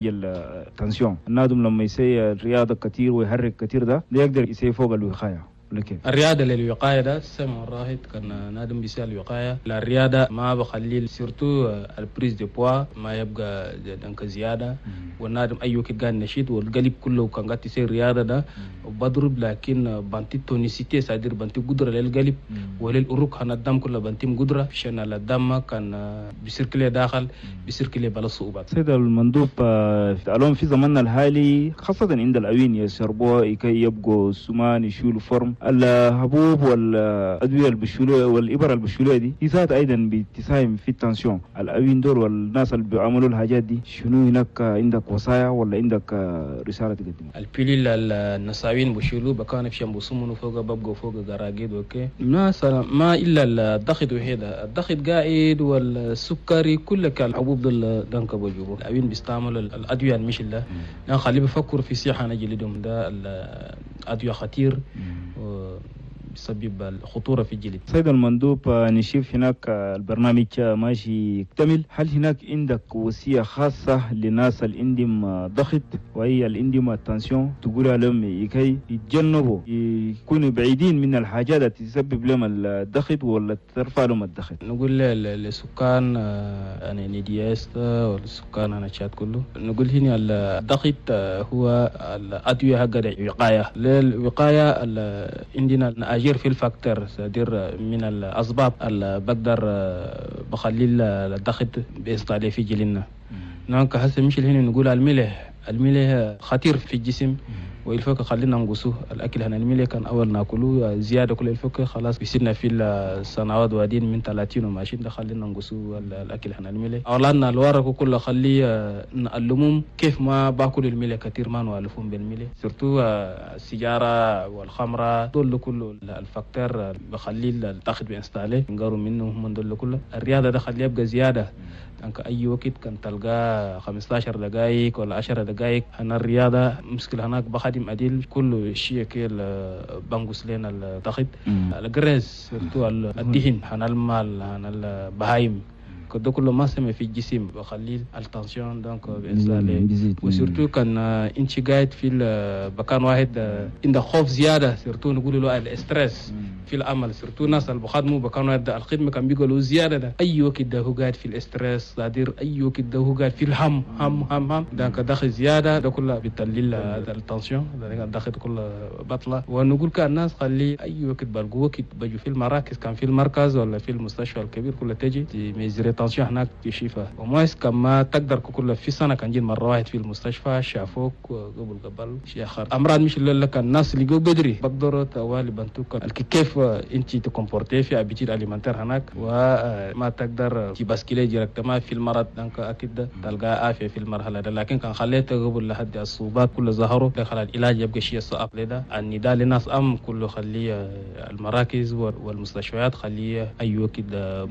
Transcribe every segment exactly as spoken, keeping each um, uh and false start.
ال tension. النادم لما يسوي الرياضة كثير ويحرك كثير ده ده يقدر يسوي فوق الوقاية ولا كيف؟ الرياضة للوقايه ده سمع الراهد كان نادم بيسال الوقاية. الرياضة ما بخلي surtout ال prise de poids ما يبقى donc زيادة، والنادم اي وقت قاعد نشيط والقلب كله كان قاعد يصير رياضة ده بضرب، لكن بنتي tonicité c'est-à-dire بنتي قدره للقلب وللأروق هنا الدم كله بنتي قدره عشان الدم كان بي circuler داخل بي circuler بلا صعوبات. سيد المندوب، اليوم في زماننا الحالي خاصة عند الأوين يشربوا كي يبقوا سمان يشيلوا forme، الحبوب والأدوية اللي والإبر اللي دي هي ذات أيضا بتساهم في ال tension. الأوين دول والناس اللي بيعملوا الحاجات دي شنو هناك عندك وصايا ولا عندك رسالة تقدمها؟ ال pilules النساوين بشيلوا بكان في شمبو فوق ببقوا فوق قراقيد okay ما ما الا الضغط وحيدة، الضغط قاعد والسكري كل الحبوب دول donc بجيبوا الأوين بيستعملوا الأدوية المش الله خليه بيفكروا في صحة نجلدهم ده الأدوية خطير بيسبب الخطورة في الجلد. سيد المندوب، نشوف هناك البرنامج ماشي يكتمل، هل هناك عندك وصية خاصة للناس اللي عندهم ضغط وهي اللي عندهم ال tension تقول لهم كي يتجنبوا يكونوا بعيدين من الحاجات التي تسبب لهم الضغط ولا ترفع لهم الضغط؟ نقول للسكان يعني ندياس والسكان انا تشاد كله نقول هنا الضغط هو الأدوية حق الوقاية. للوقاية عندنا أجير في ال facteurs c'est-à-dire من الأسباب اللي بقدر بخلي الضغط بيستعلي في جلدنا. donc هسه مش هنا نقول الملح، الملح خطير في الجسم وال faut que خلينا نقصوه الاكل هنا الملح كان اول ناكلوه زيادة كل ال faut que خلاص بيصيرنا في السنوات وادين من ثلاثين وماشيين ده خلينا نقصوه الاكل هنا الملح. اولادنا الورق كله خلي نعلمهم كيف ما باكل الملح كثير ما نوالفهم بالملح surtout السيجارة والخمره دول كله ال facteurs بخلي الضغط بي installer نقروا منه من دول كله. الرياضة ده خليه يبقى زيادة donc اي وقت كان تلقى خمستاشر دقائق ولا عشرة دقائق هنا الرياضة مشكلة هناك بخدم اديل كل شيء كيل بنقص لنا الضغط. ال graisse surtout الدهن هنا المال هنا البهايم كده كله ما سمع في الجسم بخلي ال tension donc بيزيد. و surtout كان انت قاعد في مكان واحد عندك خوف زيادة surtout نقول له ال stress في العمل surtout الناس اللي بخدموا بكانوا الخدمة كان بيقولوا زيادة ده اي وقت ده هو قاعد في ال stress c'est-à-dire اي وقت ده هو قاعد في الهم هم هم هم donc دخل زيادة ده كله بتقلل ال tension الضغط كله بطلة. ونقول كان الناس خلي اي وقت بلقوا وقت بيجوا في المراكز كان في المركز ولا في المستشفى الكبير كله تجي mesurer tension هناك تشوفها ومايس كما تقدر كل في سنة كان جي مرة واحد في المستشفى شافوك قبل قبل شيء اخر امراض مش اللي لك الناس اللي جو بدري بقدروا توالي بنتوك كيف انت ت comporter في habitudes alimentaires هناك وما تقدر ت basculer directement في المرض donc اكيد تلقى عافية في المرحلة ده. لكن كان خليته قبل لحد الصعوبات كله ظهروا دخل العلاج يبقى شيء صعب لده. النداء للناس ام كله خليه المراكز والمستشفيات خليه اي وقت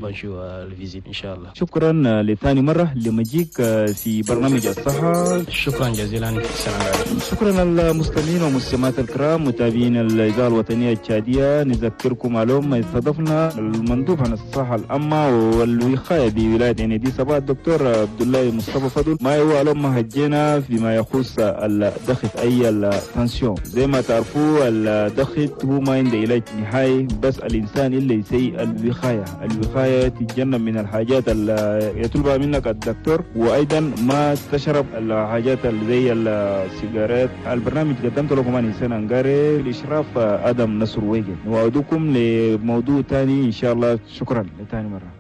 بنشو ال visite ان شاء الله. شكرا لثاني مرة لمجيك في برنامج الصحة. شكرا جزيلا. السلام عليكم. شكرا للمستمعين والمستمعات الكرام متابعين الاذاعة الوطنية التشاديه. نذكركم اليوم استضفنا المندوب عن الصحة العامة والوقاية بولاية عين سبا الدكتور عبد الله مصطفى فضل. ما هو اليوم هجينا فيما يخص الضغط اي ال tension. زي ما تعرفوا الضغط هو ما عنده علاج نهائي، بس الانسان اللي يسيء الوقاية، الوقاية تتجنب من الحاجات اللي يطلبها منك الدكتور، وايضا ما تشرب الحاجات اللي زي السيجارات. البرنامج قدمت لكم انا انسان انغاري الاشراف ادم نصر ويجن. نوعدكم لموضوع ثاني ان شاء الله. شكرا لثاني مرة.